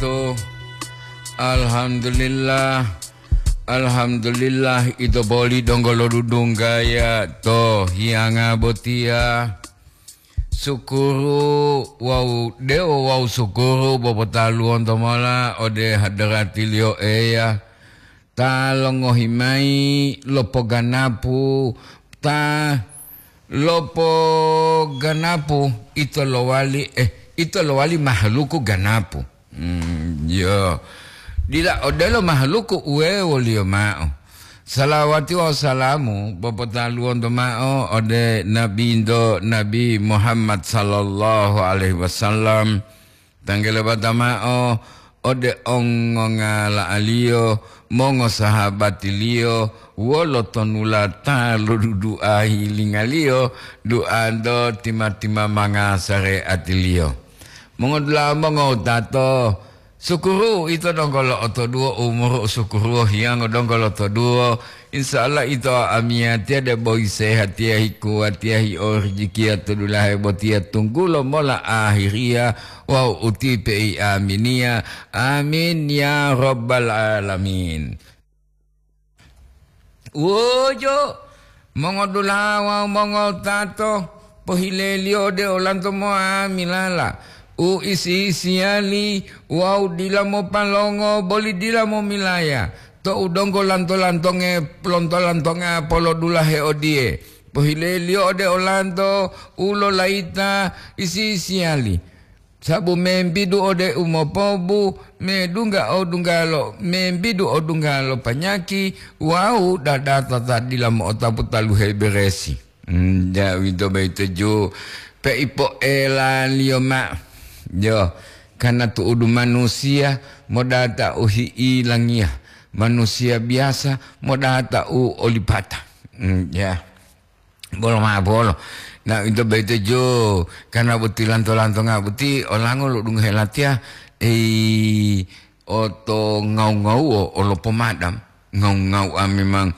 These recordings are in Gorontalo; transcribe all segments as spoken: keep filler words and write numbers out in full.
To, alhamdulillah, alhamdulillah, ito boli donggo lodudunggaya to hiyanga botiya. Sukuru wawu dewo wawu sukuru bopotaluwonto mola ode hadarati-Liyo Eya, ta longohi mayi lo poganapu, ta lo poganapu ito lowali, eh, ito lowali mahaluku ganapu. Hmm, yo. Dila odelo mahaluku uwewoliyo mao. Salawati wawu salamu bopotaluwonto mao ode Nabinto Nabi Muhammad sallallahu alaihi wasallam. Tanggele bata mao ode ongongala'aliyo, mongosahabatiliyo, wolo tonulata loduduahi lingaliyo, duanto tima-timamanga sareatiliyo. Mongodula'a mongowutato, sukuru ito donggo lo'otoduwo umuru, sukuru hiyango donggo lotoduwo. Insya Allah ito amiyatiya debo hisehatiya, hikuwatiya, hiorijikiya to dulahe botiya tunggulo mola ahiriya wawu utipe i aminiya. Amin ya rabbal alamin. Wuju, mongodula'a wawu mongotato, pohileliyo ode olanto mo'amilala u isi-isiyali wawu dila mopalongo boli dila momilaya. To'u donggo lanto-lantonge, lonto-lantonga polodulahe odiye, pohileliyo ode olanto u lolayita isi-isiyali. Sabu membidu ode u mopobu, medungga odunggalo, membidu odunggalo panyaki wawu dadata ta dila mo'otapu taluhe beresi. Hmm, ja, uwito boyito ju, peipoelaliyo mao. Yo, karna tu'udu manusiya modata u hi'ilangiya, manusiya biyasa modata u olipata. Hmm, ya. Bolo mao bolo. Na, ito boyito ju, karna boti lanto-lantonga boti, olango lo'odungohe latiya, ei, oto ngau-ngauwo, olo pomadam. Ngau-ngau'a memang,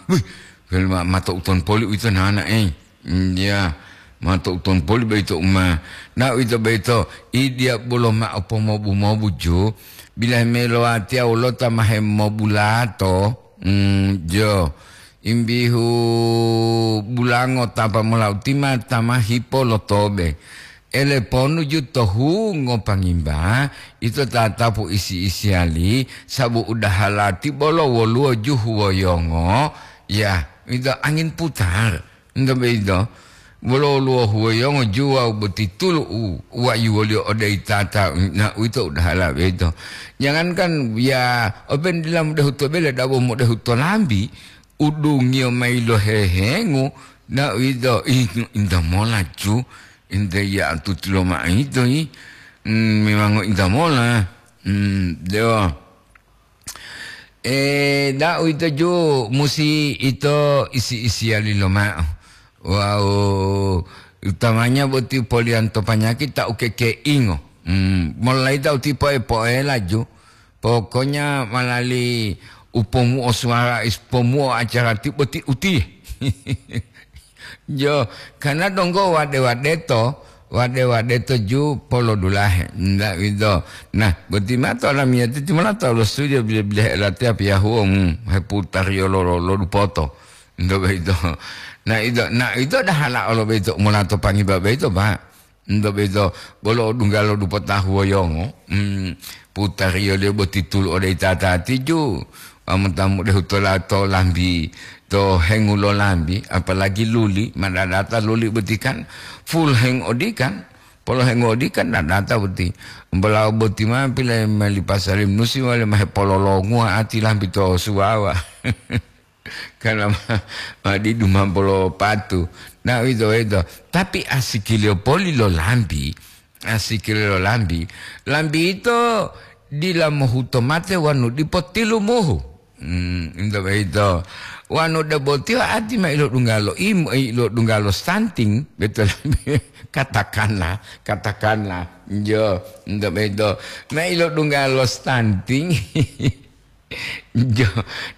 wih, ma-, mato uton poli uwito nana, ei. Mm, ya, mato uton poli boyito uma. Na, ito boyito, idiya bolo mao pomobu-mobu ju, bilahi melowatiya wolota ma hemobulato, mm, jo. Imbihu bulango tapa mola utima tama hipo lo tobe. Ele ponuju to hungo pangimba, ito tatapu isi-isiyali, sabu udahala ti bolo woluwo ju huwoyongo, ya, ito angin putar. Nto boyito, wolo woluwo huwoyongo ju wawu boti tulu u wayuwoliyo ode itata, na uwito udahala boyito. Jangankan ya, openu dila modehu to bele, dabo modehu to lambi, udungiyo mayi lohehengu, na uwito, ih, inta mola ju, inte ya tutulo ma'ito yi, mm, memango inta mola, mm, dewa. E, da uwito ju musi ito isi-isiyali lomao. Wawu utamanya boti poliyanto panyaki ta ukekeingo. Mm, molayita uti poe-poela ju. Pokonya malali upomuo suwara is-, pomuo acara ti boti uti. Jo, karna donggo wade-wadeto, wade-wadeto ju polodulahe. Nda uwito. Nah, boti mato olamiyati timola tawu lo studio bile-bilehe latiya piyahuo, mm, heputariyo lo, lo, lo dupoto. Nto boyito. Na ito, na ito dahala olo boyito, molato pangiba boyito, Pak. Nto boyito, bolo odunggalo dupota huwoyongo, mm, putariyoliyo boti tulu ode itatati ju, wawu mota modehu tola to lambi, to hengu lo lambi, apalagi luli, madadata luli boti kan, full heng odikan, polo hengu odikan dadata boti. Bolawo boti ma pile meli pasali musi wale ma hepololonguwa ati lambi to suwawa. Karena ma, ma didu ma bolo patu. Na uwito, uwito. Tapi asikiliyo poli lo lambi, asikiliyo lo lambi, lambi yito dila mohuto mate wonu dipo tilumuhu. Hmm, ento boyito. Wonu debo tiyo ati ma ilodunggalo im-, ilodunggalo stunting, betul. Katakanlah, katakanlah. Jo, ento boyito. Ma ilodunggalo stunting. Jo,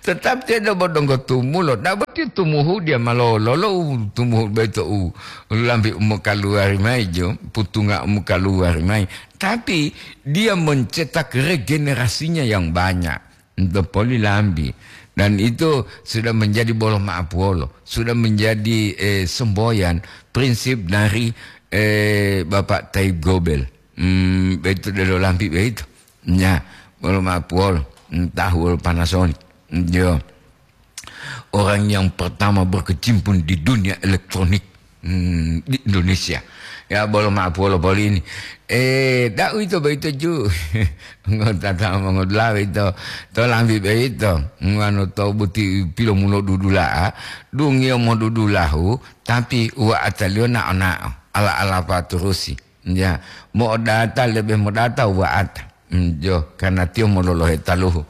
tetap tiyo debo donggo tumulo. Dabo tiyo tumuhu dia malolo lo u tumuhu beto u lambi u mokaluwari mayi jo, putunga u mokaluwari mayi. Tapi dia mencetak regenerasinya yang banyak. Untuk poli lambi. Dan itu sudah menjadi bolo maapuwolo, sudah menjadi, eh, semboyan prinsip dari, eh, Bapak Taib Gobel. Hmm, begitu delo lambi begitu. Ya, bolo maapuwolo, entah wolo Panasonic. Yo. Orang yang pertama berkecimpung di dunia elektronik, hmm, di Indonesia. Ya, bolo maapuwolo poli ini. Eh, da'u ito boyito ju. Ngota ta mongodula'a ito. To lambi boyito. Nganu to buti pilomulo dudula'a. Dungiyo modudulahu, tapi wa'ataliyo nao-nao. Ala-ala paturusi. Ya, mo'odata lebe modata wa'ata. Mm, jo, karena tiyo mololohe taluhu.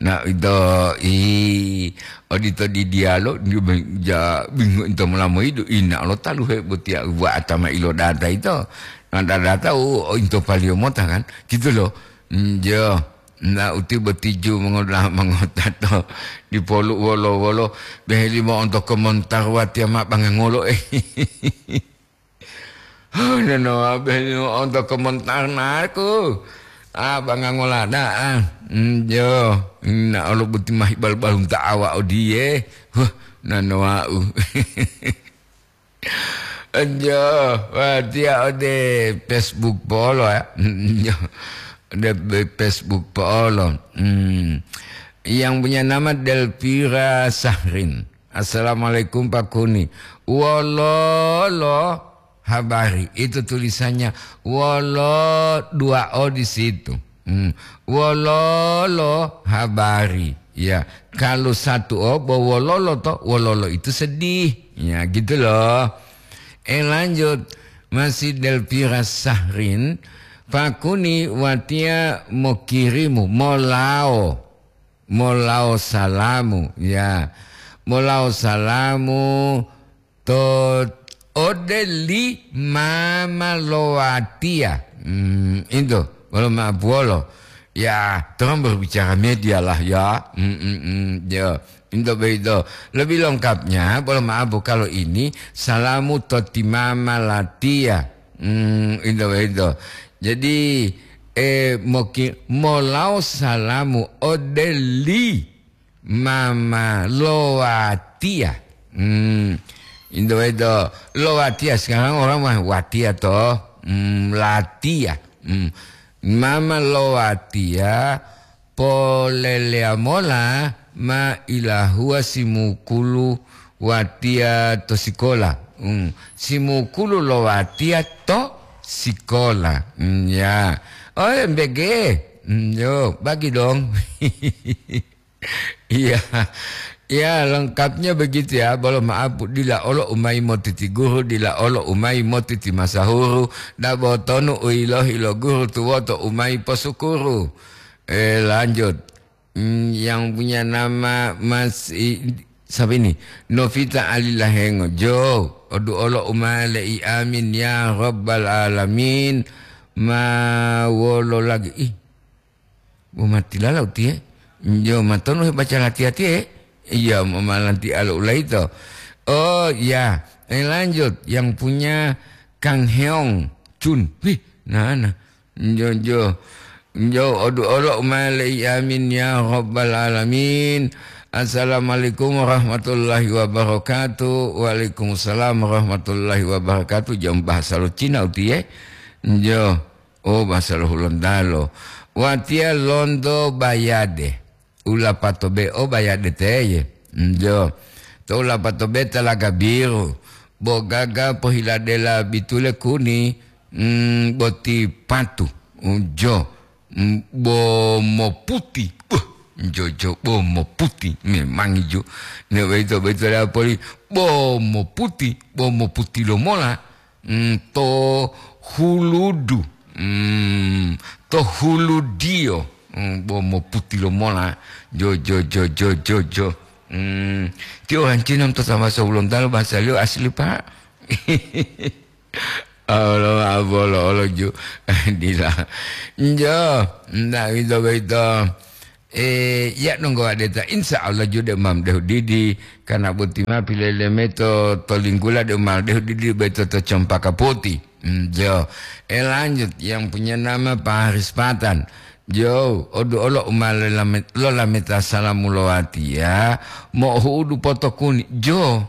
Na ito i odito di dialo, di be-, ja, bingung ito molamoyidu, ina lo taluhe botiya wa'ata ma ilodata ito. Na dadata u, o into paliyo mota kan, gitu lo. Mm, jo, na uti botiju mongoda-, mongotato dipolu wolo-wolo, beheli mo'onto komentar watiya ma bangangolo, eh. Nono abe onto komentar naku. Ah, bangangolada, ah. Mm, jo, na olo buti mahi bal-, balunta awa odiye. Huh, nano wau. Jo, watiya ode Facebook polo ya. Jo, ode be-, Facebook polo. Hmm. Yang punya nama Delvira Sahrin. "Assalamualaikum Pak Kuni. Wololo habari?" Itu tulisannya wolo dua o di situ. Hmm. Wololo habari? Ya, kalau satu o, bo wololo to, wololo itu sedih. Ya, gitu loh. Eh, lanjut. Masih Delvira Sahrin, Pak Kuni watiya mokirimu, molao. Molao salamu, ya. Molao salamu to ode li mama lo watiya. Hmm, itu, bolo maapuwolo. Ya, tolong berbicara media lah ya. Hmm, hmm, hmm, ya. Itu begitu. Lebih lengkapnya, bolo maapu kalau ini, salamu to ti mama latiya. Hmm, itu begitu. Jadi, eh, moki-, molao salamu ode li mama lo watiya. Hmm, into itu lo watiya, sekarang orang mah watiya toh. Hmm, latiya. Hmm. Mama lo watiya, poleleya mola ma ilahuwa simukulu watiya to sikola. Hmm. Simukulu lo watiya to sikola. Hmm, ya. Oh, M B G. Hmm, yo, bagi dong. Iya. Ya, lengkapnya begitu ya. Bolo maaf, dila olo umai motiti guru, dila olo umai motiti masahuru, dabo tonu uilohi lo guru tuwoto umai posukuru. Eh, lanjut. Hmm, yang punya nama Mas i-, siapa ini? Novita Ali Lahengo. Jo, odu olo umai le'i, amin ya rabbal alamin. Ma wolo lagi? Ih, bo matilala utiye. Jo, matonu hebaca lati-latiye? Iya, mamalanti alo ulaito. Oh, ya. Eh, lanjut. Yang punya Kang Heong Chun. Wih, nah, nah. Jo, jo. Jo, odu olo umale, amin ya rabbal alamin. Assalamualaikum warahmatullahi wabarakatuh. Waalaikumsalam warahmatullahi wabarakatuh. Jam bahasa lo Cina utiye. Jo. Oh, bahasa lo Hulontalo. Watiya lonto Bayade. Ulapato be o Bayade teye. Njo. To ulapato be Talaga Biru. Bo gaga pohiladela bitule kuni, mm, boti patu. Njo. Mm, bo moputi. Wah, njo, jo, bo moputi. Memang ijo. Ne boyito, boyito le poli. Bo moputi. Bo moputi lomola. Mm, to huludu. Mm, to huludiyo. Mm, bo moputi lomola. Jo, jo, jo, jo, jo, jo. Mm, ti orang Cina to sama sa Hulontalo bahasa liyo asli, Pak. Olo, abolo, olo ju. Dila. Njo, ndak gitu, gitu. Eh, ya donggo adeta, insya Allah ju de mam dehu didi, karena boti ma pilele meto to linggula de mal dehu didi beto to Cempaka Putih. Hmm, jo. Eh, lanjut, yang punya nama Pak Haris Patan. Jo, odu olo uma lolame-, lolameta salamu lowati ya. Mo hu'udu potokuni. Jo.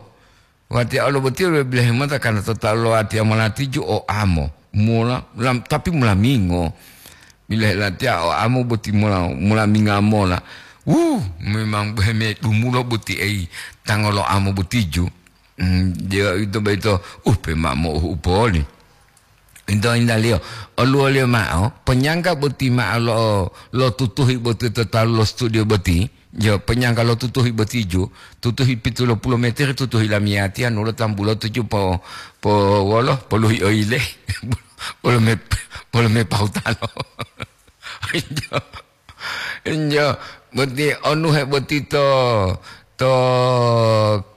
Watiya olo boti lo bilahe mota karena tota lo watiya molati ju o amo. Mula, lam-, tapi mula mingo. Bilahe latiya o amo boti mula, mula minga mola. Wuh, memang heme dumulo boti ei tangolo amo boti ju. Hmm, dia itu baito, uh, pema mo upoli. Ito indaliyo, oluwoliyo ma'o, ponyangga boti ma'o lo, lo tutuhi boti to talu lo studio boti, jo, ponyangga lo tutuhi boti ju, tutuhi pitu lo pulo meter, tutuhi lamiyatiya, nulo tambulo tuju po, po wolo, poluhi oile, polo me, polo me pautalo. Jo. Enjo, boti onuhe boti to, to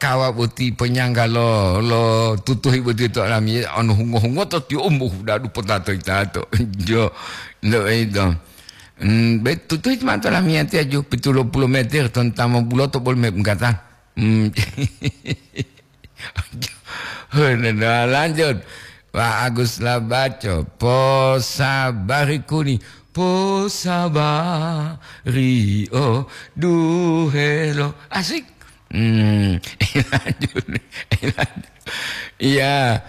kawa boti ponyangga lo, lo tutuhi boti to alami, anu hungo-hungo to tiyo umbu dadu potato itato. Enjo, ndo edo. Hmm, be tutuhi ma to alami ati aju pitu lo pulo meter ton tamo buloto bol me mengata. Hmm. Nah, lanjut. Pak Agus Labaco, posabari kuni, posabari o duhelo. Asik. Hmm, lanjut. Iya,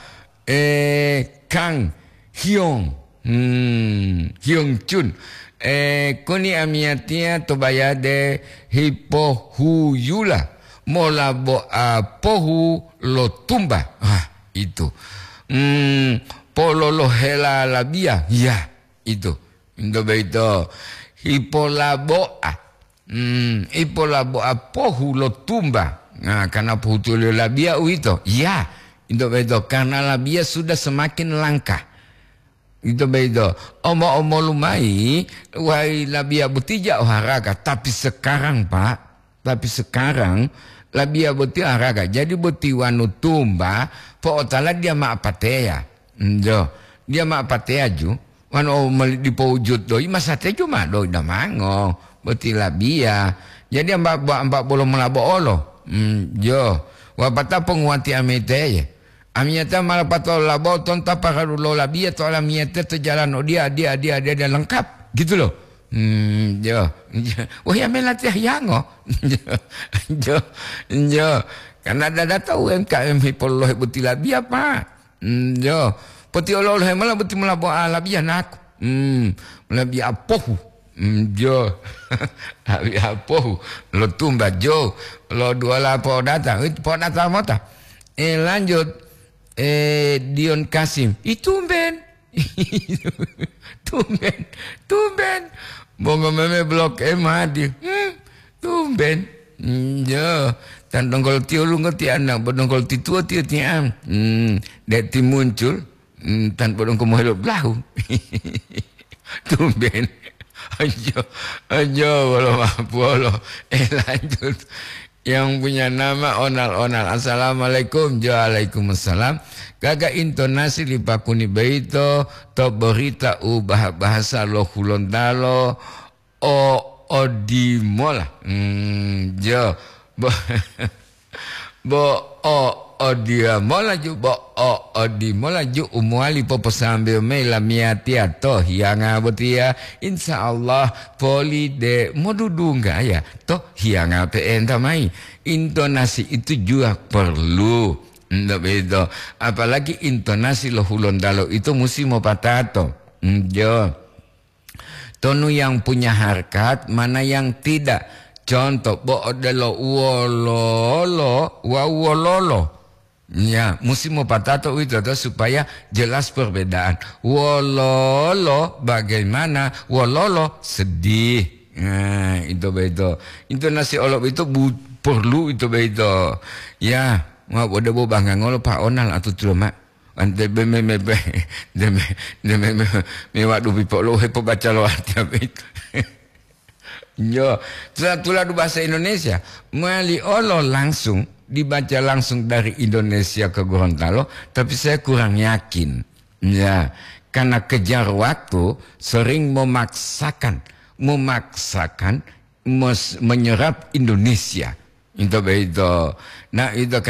eh, Kang Hyong. Hmm, Hyong Chun. Eh, koni amiyatiya to bayade hipohuyula mola bo apohu lo tumba. Ah, itu. Hmm, pololohela labiya. Ya, itu. Into boyito hipolabo'a. Hmm, hipolabo'a pohu lo tumba. Nah, karena pohutuliyo labiya uwito. Ya, into boyito karena labiya sudah semakin langka. Ito boyito, omo-omolu mayi, wayi labiya boti ja o haraga, tapi sekarang, Pak, tapi sekarang labiya boti haraga. Jadi boti wanu tumba, po'otala dia ma apateya. Njo, dia ma apateya ju, wanu o mali dipo wujud doyi, masate ju ma doyi damango, boti labiya. Jadi amba, amba bolo molabo olo. Hmm, jo, wapata ponguwati amiteye. Amiyatiya ma lapatao labo tonta paralu lo labiya to olamiyatiya to jalan odiya, adiya, adiya, adiya, adiya, lengkap, gitu loh. Hmm, jo, jo. Wah, ya mela tiah yango. Jo, jo, jo. Karena dada tahu M K M hipolohe boti labiya, Pak. Hmm, jo. Poti olo-olohe mola boti mola boa labiya naku. Hmm, labiya apohu. Hmm, jo. Labiya apohu. Lo tumba, jo. Lo duwala podata. Wit podata mota. Eh, lanjut. Eh, Dion Kasim. Ih, tumben. Tumben. Tumben. Bongo meme Blok M hadir. Hmm, tumben. Hmm, ya. Tan dongkol tiyo lungo ti anak, bo dongkol ti tuwo tiyo ti am. Hmm, dek ti muncul. Hmm, tan bo dongkol mohelo blahu. Tumben. Ajo, ajo, bolo mapuolo. Eh, lanjut. Yang punya nama Onal-onal. Assalamualaikum. Waalaikumsalam. Gaga intonasi li pakuni boyito to berita u bah-, bahasa lo Hulontalo o odimola. Hmm, jo. Bo-, bo o odimola ju, bo o odimola ju u mowali poposambeyo mayi lamiyatiya to hiyanga botiya. Insya Allah poli de modudunggaya to hiyanga pe'enta mayi. Intonasi itu juga perlu. Ndak begitu. Apalagi intonasi lo Hulontalo itu musi mopatato. Njo. Tonu yang punya harkat, mana yang tidak. Contoh, bo odelo wololo wawu wololo. Ya, musi mopatato uwito to supaya jelas perbedaan. Wololo bagaimana, wololo sedih. Nah, itu begitu. Intonasi olo itu bu-, perlu itu begitu. Ya, ma bo debo bangga ngolo Pak Onal atau tulo, Mak. Ante be me, me, be, de me, de me, me, me wadu pipo lo hepo baca lo arti apa itu. Yo, tula-, tuladu bahasa Indonesia, mali olo langsung, dibaca langsung dari Indonesia ke Gorontalo, tapi saya kurang yakin. Ya, karena kejar waktu, sering memaksakan, memaksakan mos-, menyerap Indonesia. Itu begitu. Nah, itu